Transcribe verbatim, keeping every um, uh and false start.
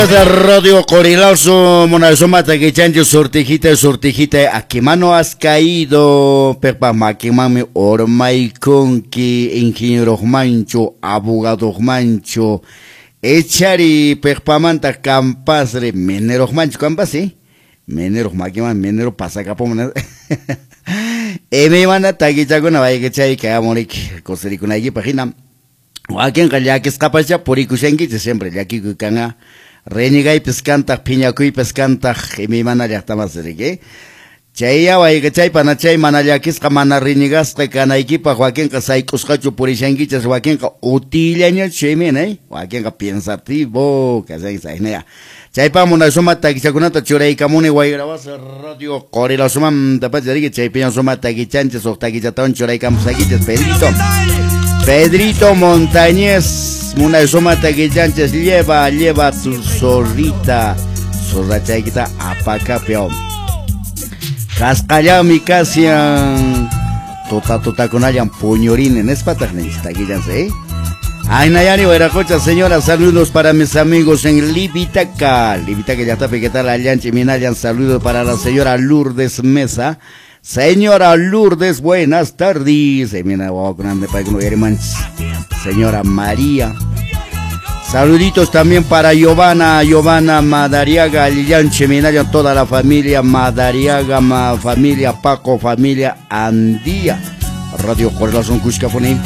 Pues Radio Corilazo, Monazoma, Taquichancho, sortijita, sortijita, aquí mano has caído, Pepa Maquimami, Ormaiconqui, ingeniero mancho, abogado mancho, Echari, Pepamanta, Campasre, minero mancho, Campas, ¿sí? Minero Maquimami, minero pasacapón, Eme mana taquichacuna, vaya que chay, que amorik, cosericuna, aquí página. Wakinqa llakisqapascha purikushankichis siempre llakikuy kanqa renegaypis kantaq phiñakuypis kantaq imaymana llaqtamas riki chay wayqa chay pana chay mana llakisqa mana renegasqa kanaykipaq wakinqa sayk'usqachu purishankichis wakinqa utillañachu chaymi eh wakinqa pensativo kashanki saynaya chaypa munasuma takichakunata churaykamuni Wayrawasa Radio Qorilasumanta pacha riki chaypiña suma takichanchis huk takichatawan churaykamusakichis Pedrito Pedrito Montañez, Munasuma Taquichanches, lleva, lleva tu zorrita, zorrachaykita apakapio. Kasqallami kasian, tuta tutakunallan puñurinen, nespataq ninchis taquichanse, eh? Ay, Nayani, Huayracocha, señora, saludos para mis amigos en Livitaca. Livitaca, llaqtapi, ¿qué tal? Allanchi, Minayan, saludos para la señora Lourdes Mesa. Señora Lourdes, buenas tardes. Señora María. Saluditos también para Giovanna, Giovanna Madariaga, Lillanche, Minayan, toda la familia Madariaga, ma, familia Paco, familia Andía. Radio Correlación Cuscafoni.